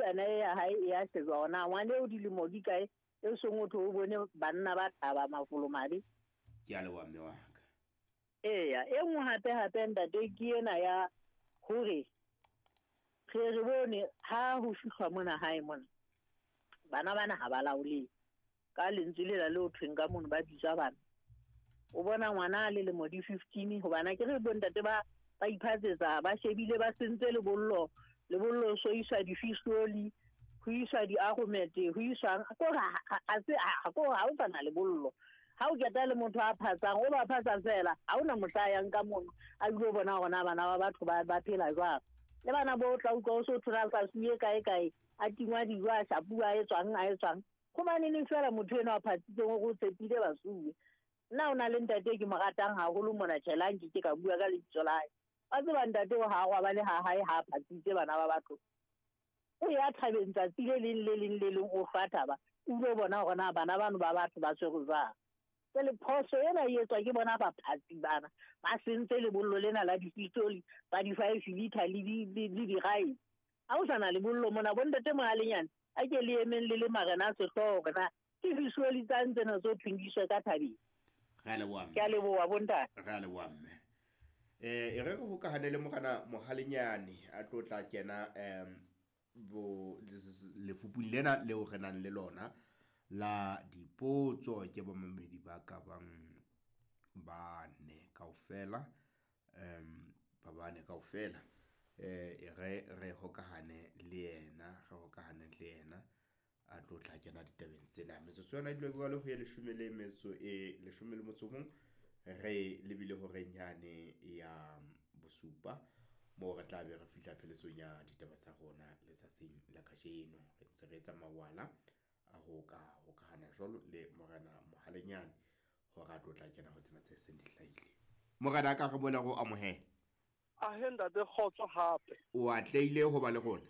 bukana e ya hae e ya shejwa hore na ngwana eo dilemo di kae e seng o thwe o bone banna ba thaba mafolomabe. Ke a leboha mme wa ka. Eya, e nngwe hape hape ntate ke ena ya hore re re bone ha ho fihlwa mona hae mona bana bana ha ba laolehe. Ka lentswe lela le o thweng ka mono ba bitswa bana. O bona ngwana a le lemo di 15 hobana ke re bontate ba ba iphatsetsa ba shebile ba sentse lebollo lebollo so iswa difisoli ho iswa di-argument ho iswang kore ha se kore ha o sana lebollo ha o keta le motho a phatsang o ba phatsa fela ha ona mohla a yang ka mono a bile o bona hore na bana ba batho ba ba phela jwang le bana bo tla utlwa o so thola tlasuwe kae kae a tingwa dijo a shapuwa a etswang a etswang gobaneneng fela motho eno a phatsitseng o go tshepile basuwe nna o na le ntate ke mo ratang haholo mona tjhelang ke ke ka bua ka lebitso la hae wa tseba ntate o ha ba le ha hae ha a phatsitse bana ba batho o ya thabeng tsatsi le leng le leng le leng o hlwa thaba o ile bona hore na bana bano ba batho ba tshwerwe jwang. Jwale phoso ena e etswa ke bona baphatsi bana ba sentse lebollo lena la dipitoli ba di-five liter le di-rice. Ha o sa na lebollo mona bontate Mohalenyane a ke le emeng le le marena a sehlooho hore na ke disoli tsang tsena tse thweng di iswe ka thabeng. Re a leboha Ke a mme. leboha bontate. Re a leboha mme. Eh e re re hokahane le morena Mohalenyane a tlo tla kena bo lefupung lena leo re nang le lona la dipotso ke bamamedi ba ka bang bane kaofela ba bane kaofela e re re hokahane le yena re hokahane le yena a tlo tla kena ditabeng tsena. Metsotso yona e dula jwalo ho ya leshome le metso e leshome le motso o mong re lebile horeng yane ya bosupa moo re tla be re fihla pheletsong ya ditaba tsa rona letsatsing la kajeno. Re ntse re etsa mawala a ho ka hokahana jwalo le morena Mohalenyane hore a tlo tla kena ho tsena tse seng di hlahile. Morena a ka re boela re o amohela. Ahe ntate kgotso hape. O atlehile ho ba le rona.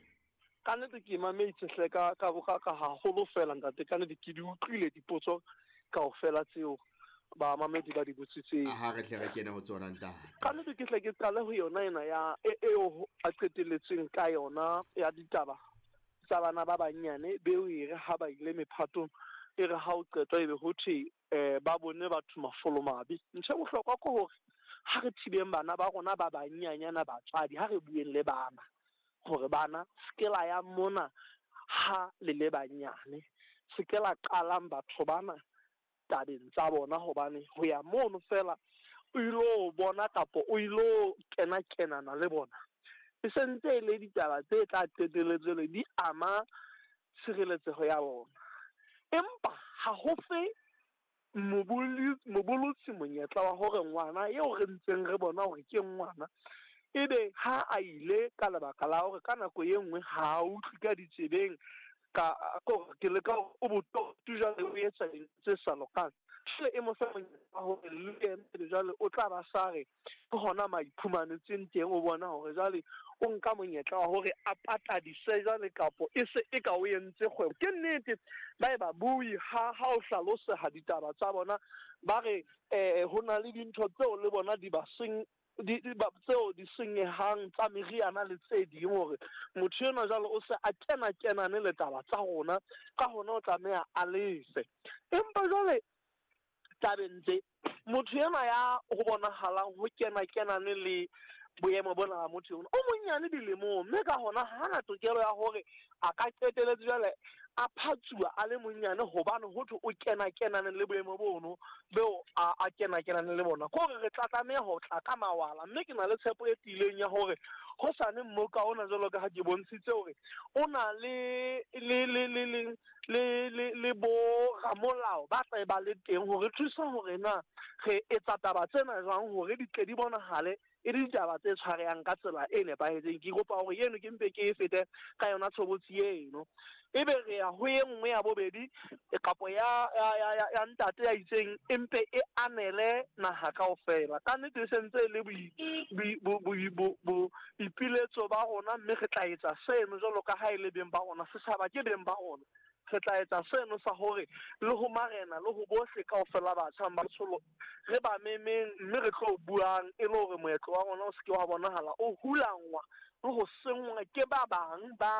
Ka nnete ke mametse hle ka ka ka ka haholo fela ntate ka nnete ke di utlwile dipotso kaofela tseo bamamedi ba di botsitseng. Ha re tle re kene ho tsona ntate. Ka nnete ke hle ke qale ho yona ena ya eo a qetelletseng ka yona ya ditaba tsa bana ba bannyane beo e re ha ba ile mephatong e re ha o qetwa ebe ho thwe ba bone batho mafolomabe. Ntho e bohlokwa ke hore ha re thibeng bana ba rona ba bannyanyana batswadi ha re bueng le bana hore bana se ke la ya mona ha le le banyane, se ke la qalang batho bana tabeng tsa bona hobane ho ya mono fela o ilo bona kapa o ilo kena kenana le bona e sentse e le ditaba tse tla qetelletse le di ama tshireletseho ya bona. Empa ha ho fe mobolotsi monyetla wa hore ngwana eo re ntseng re bona hore ke ngwana ebe ha a ile ka lebaka la hore ka nako e nngwe ha a utlwe ka ditsebeng ka kore ke leka hore o bototu jwale o etsa dintho tse sa lokang. Jwale e mo fe monyetla wa hore le yena jwale o tla ba sa re ke hona ma iphumanetseng teng o bona hore jwale o nka monyetla wa hore a patadise jwale kapo e se e ka o entse kgwebo. Ke nnete ba e ba bui ha ha o hlaloseha ditaba tsa bona ba re ho na le dintho tseo le bona di ba seng di ba tseo di senyehang tsa meriana le tse ding hore motho enwa jwale o se a kena kenane le taba tsa rona ka hona o tlameha a lefe. Empa jwale tabeng tse motho enwa ya ho bonahalang ho kena kenane le boemo bona ba motho enwa o monyane dilemong mme ka hona hana tokelo ya hore a ka qetelletse jwale a phatsuwa a le monyane hobane ho thwe o kena kenane le boemo bono beo a kena kenane le bona. Ke hore re tla tlameha ho tla ka mawala mme ke na le tshepo e tiileng ya hore hosane mmoka ona jwalo ka ha ke bontshitse hore o na le le le le le le le le bo ramolao ba tla ba le teng hore thusa hore na re etsa taba tsena jwang hore di tle di bonahale e le ditaba tse tshwarehang ka tsela e nepahetseng. Ke kopa hore eno ke mpe ke e fete ka yona tshobotsi eno. Ebe re ya ho e nngwe ya bobedi kapo ya ya ya ya, ya ntate ya itseng empe e anele naha kaofela. Ka nnete e sentse e le boipiletso ba rona mme re tla etsa seno jwalo ka ha e le beng ba rona. Setjhaba ke beng ba rona. Re tla etsa seno sa hore le ho marena le ho bohle kaofela batjha ba tsholo re ba memeng mme re tlo buang e le hore moetlo wa rona o se ke wa bonahala o hulangwa le ho senngwa ke ba bang ba